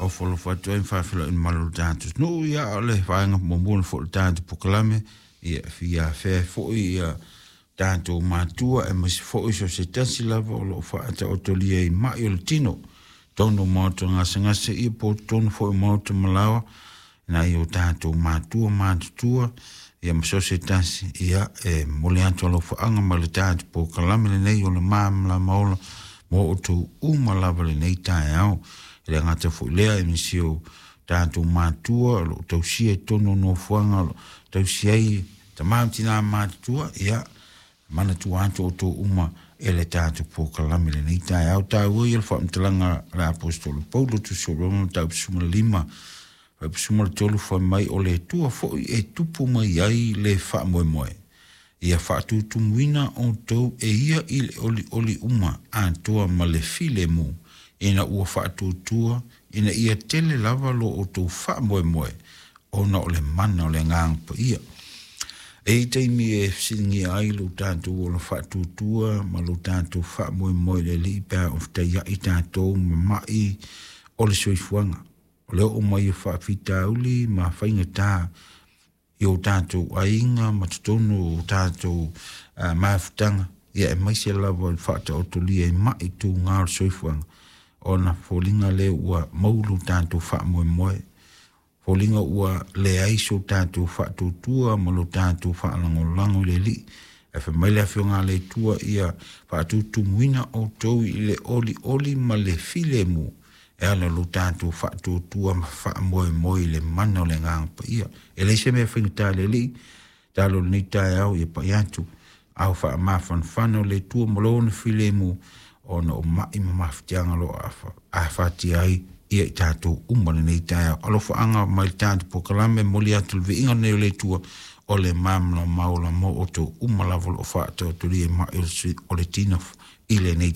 Ofolofo atu ai ma faafeiloai i le mamalu o le tatou atunuu. Ia, o le vaega muamua foi o le tatou polokalame, ia e fia afea ai foi ia tatou matua aemaise foi so o se tasi lava o lo o faataotolia i mai o le tino, totonu o maota gasegase, ia po o totonu foi o maota ma laoa, nai o tatou matua matutua, ia ma so o se tasi, ia e momoli atu alofaaga ma le tatou polokalame lenei o le Malamalama Ola mo outou uma lava lenei taeao. E le gata foi i lea, e nisi o tatou matua o lo o tausia i totonu o nofoaga o lo o tausia ai tama ma tina matutua, ia manatua atu outou uma e le tatou polokalame lenei taeao. Taua ia le faamatalaga a le Aposetolo Paulo, Tusi o Roma, mataupu 15, fuaiupu 13, fai mai o le Atua foi e tupu mai ai le faamoemoe, ia faatutumuina outou e ia i le olioli uma atoa ma le filemu, ina ua faatuatua ina ia tele lava lo outou faamoemoe ona o le mana o le Agaga Paia. E i ai taimi e fesiligia ai lo tatou ola faatuatua ma lo tatou faamoemoe i le Alii pe a o fetaiai tatou ma mai o le soifuaga. O le oo mai o faafitauli ma faigata i o tatou aiga ma totonu o tatou mafutaga, ia aemaise lava i le faataotolia i mai tuga o le soifuaga, ona foliga lea ua maulu tatou faamoemoe, foliga ua leai so tatou faatuatua ma lo tatou faalagolago i le Alii. Ae fai mai le Afioga a le Atua, ia faatutumuina outou i le olioli ma le filemu, e ala lo tatou faatuatua ma faamoemoe i le mana o le Agaga Paia. E leai se mea faigata i le Alii, talo lenei taeao ia pai atu, ao faamafanafana o le Atua ma lona filemu, ona o mai ma mafatiaga o lo o afatia ai ia i tatou uma lenei taeao. Alofaaga mai le tatou polokalame, momoli atu le viiga lenei o le Atua o le malamalama ola mo outou uma lava o lo o faataotolia i mai o le tino i lenei.